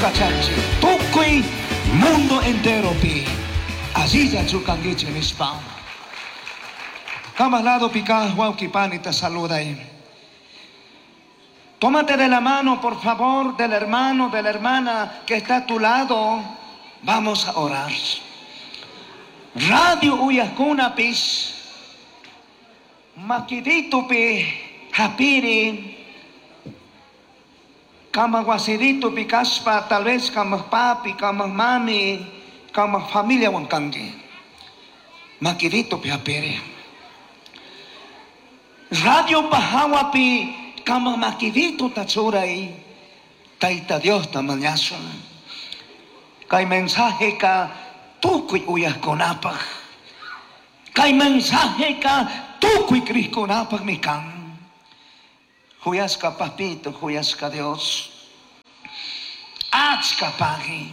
Kachanchik tukuy mundo enteropi allillachu kankichik nishpa. Kambaj ladopi kaj wawqi panita saluday. Tómate de la mano, por favor, del hermano, de la hermana que está a tu lado. Vamos a orar. Radio uyajkunapish, makiditupi japiri, kambaj wasiditupi kashpa, tal vez kambaj papi, kambaj mami, kambaj familiawan kanki. Makiditupi japiri. Radio jawapi kambaj makidituta churay, Tayta Diosta mañashun. Kay mensajeka tukuy uyajkunapaj. Kay mensajeka tukuy crijkunapajmi kan. Juyashka papito, juyashka Dios. Achka pagui.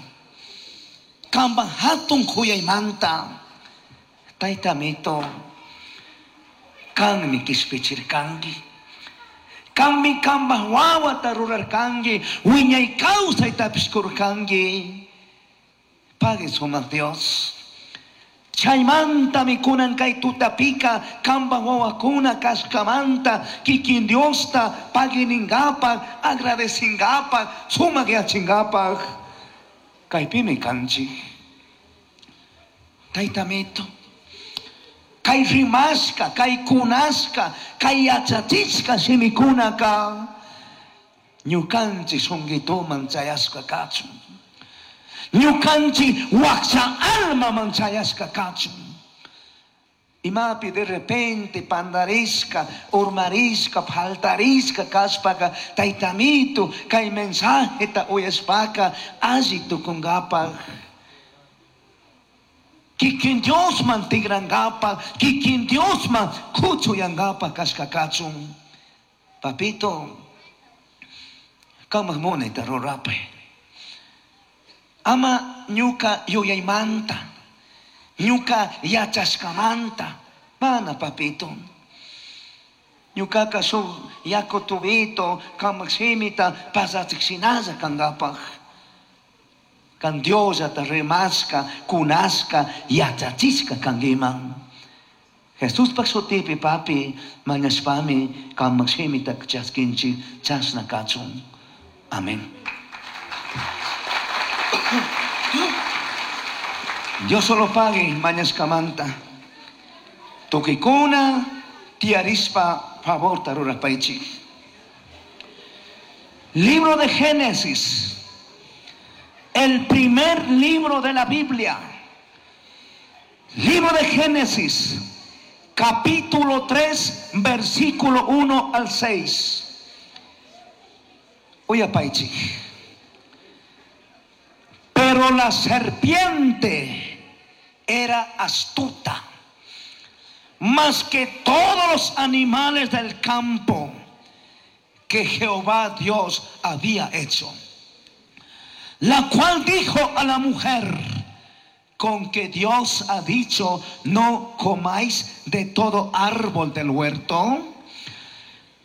Kambaj hatun juyaymanta. Taytamito, kanmi kishpichirkanki. Kanmi kambaj wawata rurarkanki, wiñay kawsaytapish kurkanki. Pagui sumak Dios. Chaymantami kunan kay tutapika kambaj wawakuna kashkamanta kikin Diosta pagui ningapak, agradecingapaj, sumak yachingapak. Kaypimi kanchik. Taytamito, kay rimashka, kay kunashka, kay yachachishka shimikunaka ñukanchik shunqituman chayashka kachun. Ñukanchik wakcha almaman chayashka kachun. Imapi de repente pandarishka, urmarishka, faltarishka kashpaka, Taytamito, kay mensajeta uyashpaka, alli tukunkapaj. Kikin Diosman tikrankapaj, kikin Diosman kuchuyankapaj kashka kachun. Papito, kambaj munayta rurapay. Ama ñuka yuyaymanta, ñuka yachashkamanta, mana papito. Ñukaka shuk yaku tubito, kambaj shimita pasachik shinalla kankapaj. Kan Diosllata rimashka, kunashka, yachachishka kankiman. Jesuspaj shutipi papi mañashpami kambaj shimita chaskinchik chashna kachun. Amén. Dios solo pague mañashkamanta. Tukikuna tiyarishpa favorta rurapaychik. Libro de Génesis, el primer libro de la Biblia. Libro de Génesis, capítulo 3, versículo 1 al 6. Uyapaychik. Pero la serpiente era astuta, más que todos los animales del campo que Jehová Dios había hecho, la cual dijo a la mujer: con que Dios ha dicho, no comáis de todo árbol del huerto.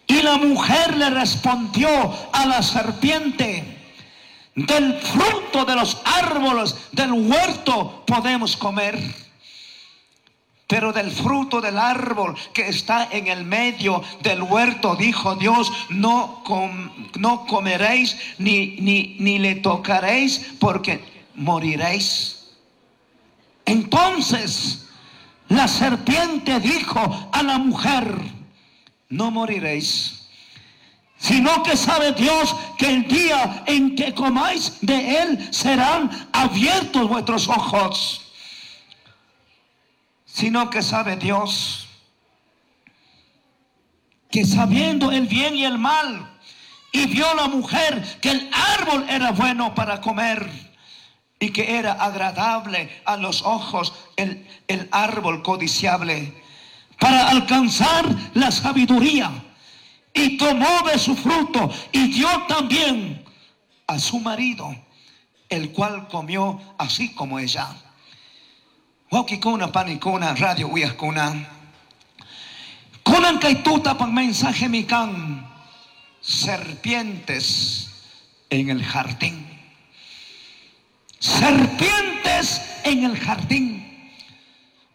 Y la mujer le respondió a la serpiente: del fruto de los árboles del huerto podemos comer, pero del fruto del árbol que está en el medio del huerto, dijo Dios, no comeréis ni le tocaréis, porque moriréis. Entonces la serpiente dijo a la mujer: no moriréis, sino que sabe Dios que el día en que comáis de él serán abiertos vuestros ojos. Sino que sabe Dios que sabiendo el bien y el mal, y vio la mujer que el árbol era bueno para comer y que era agradable a los ojos el árbol codiciable, para alcanzar la sabiduría, y tomó de su fruto y dio también a su marido, el cual comió así como ella. Wawqikuna, panikuna, radio uyajkuna. Kunan kay tutapaj mensaje mi kan, serpientes en el jardín. Serpientes en el jardín.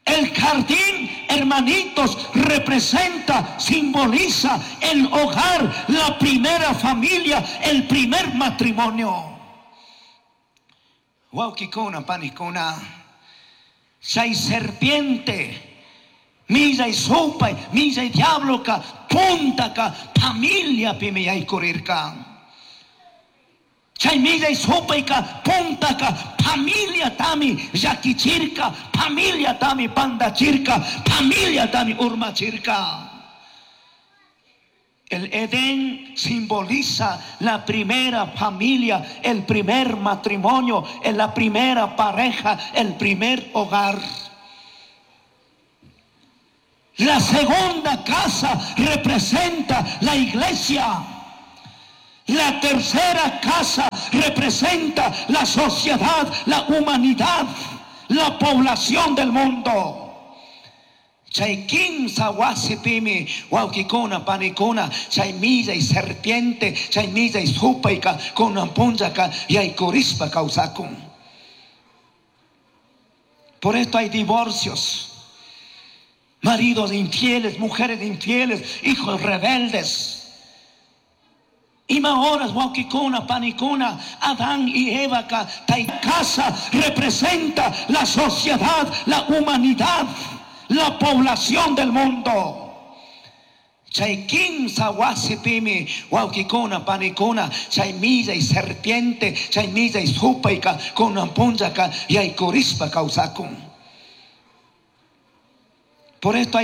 El jardín, hermanitos, representa, simboliza el hogar, la primera familia, el primer matrimonio. Huauquicuna, panicuna, chay serpiente, millai supay, millai diabloca, puntaka, familiapimi yaykurirka. Chay millai supayka, puntaka, familiatami llakichirka, familiatami pandachirka, familiatami urmachirka. El Edén simboliza la primera familia, el primer matrimonio, la primera pareja, el primer hogar. La segunda casa representa la iglesia. La tercera casa representa la sociedad, la humanidad, la población del mundo. Chay kimsa wasipimi huauquicuna panicuna chay millai serpiente chay millai supayka kunan punllaka yaykurishpa kawsakun. Por esto hay divorcios, maridos infieles, mujeres infieles, hijos rebeldes. Ima horas huauquicuna panicuna Adán y Eva casa representa la sociedad, la humanidad, la población del mundo. Chay kimsa wasipimi huauquicuna panicuna chay millai serpiente chay millai supayka kunan punllaka yaykurishpa kawsakun. Por esto hay